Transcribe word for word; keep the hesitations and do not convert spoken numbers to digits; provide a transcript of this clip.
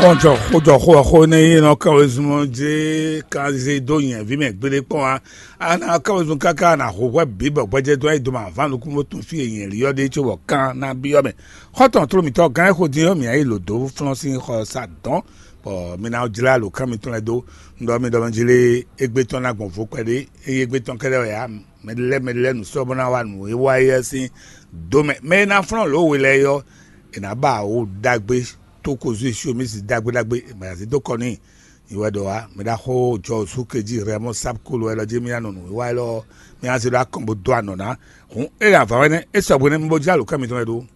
Kpɔn jɔ xó jɔ xó ɔ́ xó énɛ́ e nɔ kán wezun ɔ́ jlé kanzé dó nyɛ̌ví mɛ gbeɖé kpɔ́n ǎ. A nǎ kán wezun káká a nǎ hu hwɛ bǐ bɔ gbɛjɛ́ dó ayǐ dó mɛ avǎn nukúnmó tɔn fí e nyɛ̌lí ɔ́ ɖe cóbɔ kán ná byɔ́ mɛ. Xɔ́ntɔn tló mǐtɔn gán e xo din ɔ́, mǐ ná yi lǒ dó flɔ́n sín xɔ sa dɔ̌n, bɔ mi ná jlá alǒkan mitɔn lɛ́ɛ dó. Un ɖɔ mi ɖɔ mɛ jlé égbé tɔn ná gbɔn vo kpɛɖé, ényí égbé tɔn kɛ́ɖɛ́ wɛ ǎ, mɛ ɖé lɛ́ɛ mɛ ɖé lɛ́ɛ nǔ sɔ́ bó ná wa nǔ e wa é ɔ́ sín dó mɛ. Mɛ e ná flɔ́n lǒ we lɛ́ɛ é ɔ́, è nǎ ba wǒ ɖagbe tó ko zú Esyomísi ɖagbe ɖagbe, è ma zé dó kɔ n'i. Nyi wɛ ɖɔ wá, mɛ ɖaxó jɔ sú kejí Rɛmɔ Sápkulu wɛ lɔ jí mì ná nɔ nǔwiwa élɔ́ ɔ́, mì ná zé ɖó akɔn bó dó anɔ ná. Hǔn é ɖo avǎ wɛ nɛ́, é sɔgbe nɛ́, mi bo jlá alǒkan mitɔn wɛ ɖó.